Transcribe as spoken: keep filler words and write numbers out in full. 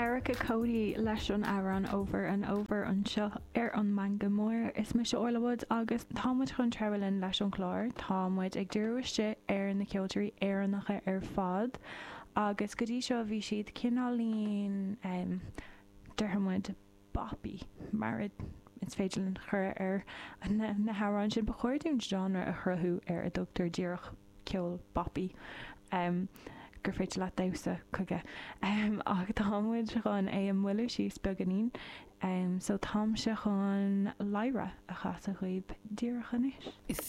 Erica Cody leis an amhrán Over and Over anseo ar an Meangadh Mór is mise Orla Woods agus tá muid chun treabhadh linn leis an chlár Tá muid ag díriú isteach ar na ceoltóirí Éireannacha ar fad agus go dtí seo bhí siad cineáilín um, déarfaidh muid boppy mar is féidir linn chur ar na, na hamhráin sin ba chóir dúinn genre a chruthú ar a dtugtar díreach ceol boppy. Um, gur féidir leat damhsa chuige um, ach támuid chun é a mhoilliú síos beagáinín um, so táimse chun Lyra a chasadh daoibh díreach anois. If